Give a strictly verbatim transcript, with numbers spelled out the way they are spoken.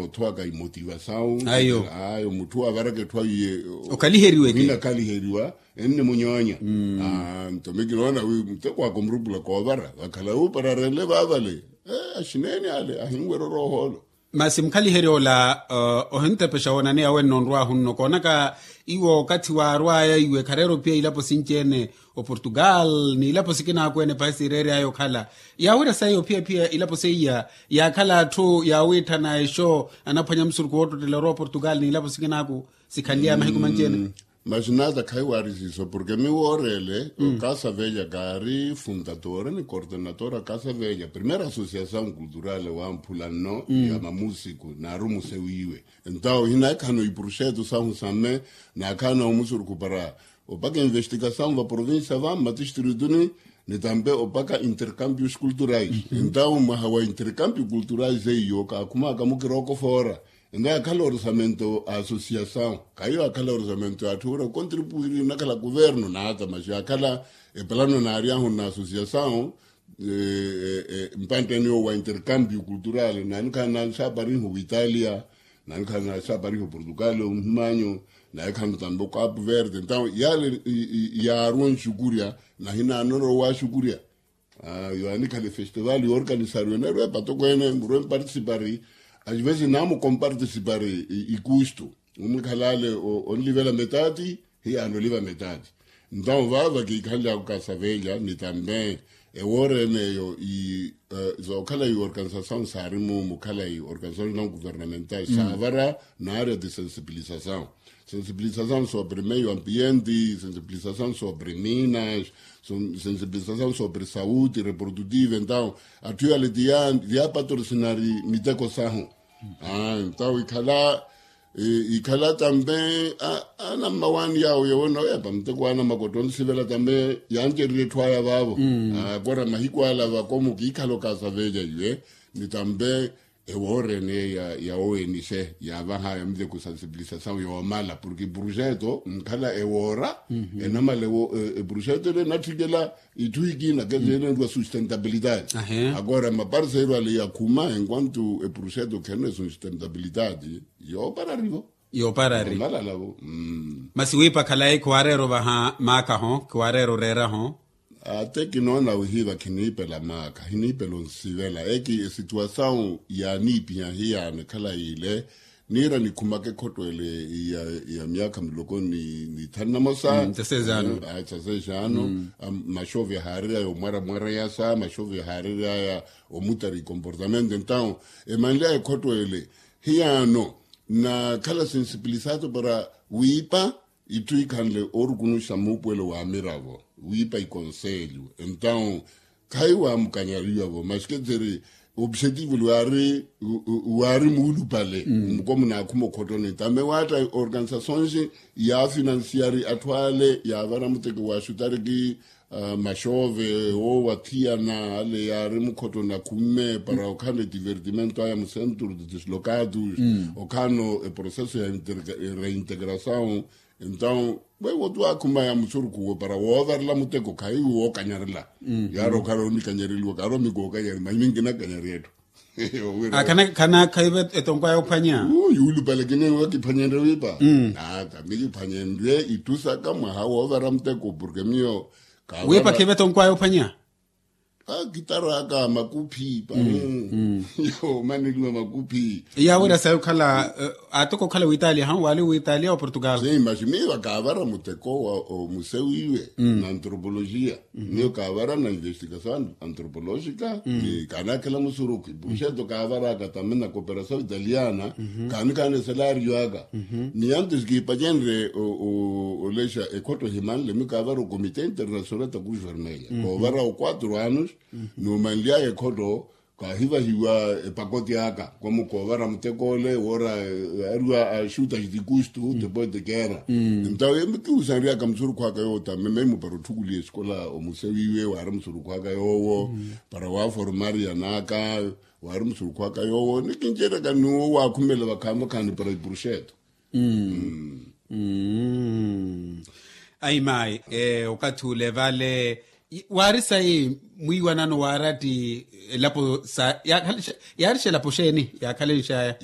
Othuwaka imotivasawu. Ayo. Ayo mutthu wavaraka etthu ayiye. Okhaliheriweke. Ohina khaliheriwa. Ennimunyoonya. Nto mi kinoona wi muteko waka omurupula koovara vakhala wu para arenle vaavale. Axineeni ale ahinwerya oroohoolo. Masi mukhaliherya ola ohintepexa woonaneya wenno onrwaahu nno koonaka iwo okathi waarwaya iwe khareera ophiya ilapo sinci-ene, oportugal n'ilapo sikinaaku ene pahi siireeryaya okhala. Yaawira sayi ophiya-phiya ilapo seiya yaakhala atthu yaawitthana exo anaphwanya musurukhu woottottela orwa oportugal n'ilapo sikinaaku sikhanlyaya mahiku manci-ene. Masi naata khayi waari siiso porke mi wooreele okasavelya kaari fundadore ni kortenatora kasavelya primeira asosiasawu kulturale wamphula nno ya mamusiku naarumu sewiiwe. Entawu hinakhana ipuruxeto sahu same nakhana omusurukhu para opaka investikasawu va provincia va mmatistrituni ni tampe opaka intercambios kulturais. Entawu mwaha wa intercambio kulturais eiyo kaakhumaka mukiroko foora. Entawu akhala orisamento a asosiasawu khayi akhala orisamento a atthu ora kontripuiri nakhala kuverno naata maxi akhala epalano naaryahu na asosiasawu. Mpantteni owo wa intercambio kultural nanikhala naxapariho witalia nanikhala naxapariho portugal omuhimanyo nanikhala tambe okapu verde entawu yale yaaruwa nxukurya. Nahinanorowa waxukurya. Yo anikhala efestival yoorkanisariwa enerwe epatoko ene murwe mpartisipari asivesi namukompartisipari ikustu. Omwikhalale onlivela metati hiyaano oliva metati. Ntau vaava kiikhanly'aku kasaveelya ni tambe ewoorene eyo zookhala iorganisasawu saari mumu khala iorganisasawu nanguvernamental saavara naarya ti sensibilisasawu. Sensibilisasawu sobre meio ambiente sensibilisasawu sobre minas sensibilisasawu sobre sauti reprodutiva ntau atthu yale ti yaapatorsinari miteko sahu. Ntau ikhala ikhala tambe anammawaani yaawo yowona oya pamuteko anamakotto onsivela tambe yancererye etthu aya vaavo. Akora mahiku ala vakomu kiikhala okasaveelya iwe ni tambe ewoorene ya owenise yaavahaya muteko sensibilisasawu yoomala porke eprojeto nkhala ewoora enamala eprojeto ele enatthikela itthu ikina kesi enenrwa sustentabilidade. Agora maparseiru ale yakhuma enquanto eprojeto khenene sustentabilidade yoopararivo. Yooparari. Omalala vo. Masi wiipa khalayi khiwaareera ovaha maakaho khiwaareera oreeraho. Ate kinoona wihiiva khiniipela maaka hiniipela onsivela eki esituwasawu yaaniipiha hiyaano ekhalayi ile. Niira nikhumaka ekhotto ele ya myaakha miloko ni ithanu namosa. Tsa seis anos. Maxove haareryaya omwaramwareyasa maxove haareryaya omutari ikomportamento entawu emanlyaya ekhotto ele hiyaano nakhala sensipilisado para wiipa itthu ikhanle orukunuxa muupuwelo wa miravo wiipa ikonselho entawu khayi waamukanyariwa-vo maxi ketseri opsetivo luwaari waari muulupale muko munaakhuma okhottoni tame waatta organisasoonxi yaafinansiari atthu ale yaavara muteko wa xutariki maxove woowathiyana ale yaari mukhottoni akhumme para okhala etivertimento aya mu centro de dislocados okhala eproceso ya reintegrasawu. Entawu wewo tuwaakhumaya musurukhu uwo para woovarela muteko khayi wookanyarela yaari okhala onikanyareliwa kaari omikookanyari mahiminki nakanyari etthu. Khana khaiva etonkwaya ophwanya. Yuulupale kiniwa kiphwanyenrye wiipa. Ata mikiphwanyenrye itthu saka mwaha woovara muteko porke miyo wiipa khiva etonkwaya ophwanya. Kitaraka makuphi pano. Yomaneliwa makuphi. Yawira sayi okhala atoko okhala witalia hawu waali witalia wa portugal. Maxi miiva kaavara muteko wa omusewiiwe na antropologia. Miyo kaavara na investigasawu antropologica ni kaanakhela musurukhu ipuxeto kaavaraka tamina cooperasawu italiana. Kaanikhana esalario aka ni antes kiipacenrye olexa ekhotto ehimanle mi kaavara okomite internacional ta cruz vermella koovara oquatro anos. Numanly'aya ekhotto kaahivahiwa epakoti aka komu koovara muteko ole woora ariwa axuta xitikustu depois de guerra. Entawu emikihusanry'aka musurukhu aka yoowo tameme mupara otthukuliha esikola omusewiiwe waari musurukhu aka yoowo para waaformaryan'aka waari musurukhu aka yoowo nikinceryaka n'uwo waakhumela vakhaani vakhaani para ipuruxeto. Ayi mayi okathi ule vale waari sayi mwiiwanano waaratti elapo sa yaarixa elapo xeeni yaakhalenxaya.